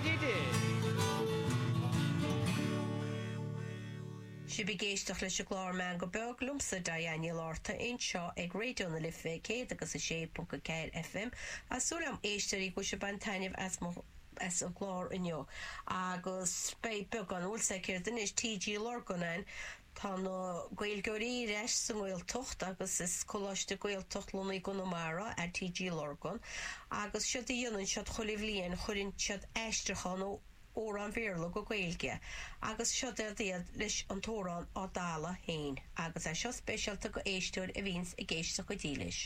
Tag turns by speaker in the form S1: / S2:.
S1: What he did.
S2: Sibh ag éisteacht leis an gclár Meangadh Beag liomsa, Diane Ní Fhlatharta, anseo ag Raidió na Life 106.4 FM. Tá súil agam, éisteoirí, go bhfuil sibh ag baint taitneamh as mo as an gclár inniu. Agus beidh beagán, bhfuil 's agat anois, TG Lurgan ann. Tá na Gaeilgeoirí ar ais sa nGaeltacht agus is Coláiste Gaeltacht lonnaithe i gConamara é TG Lurgan agus séard a dhéanann siad chuile bhliain chuireann siad aistriúchán ó amhrán Bhéarla go Gaeilge agus seod iad leis an t-amhrán Ár dTalamh Féin agus é seo speisialta go éisteoir a bhíonns ag éisteacht go dílis.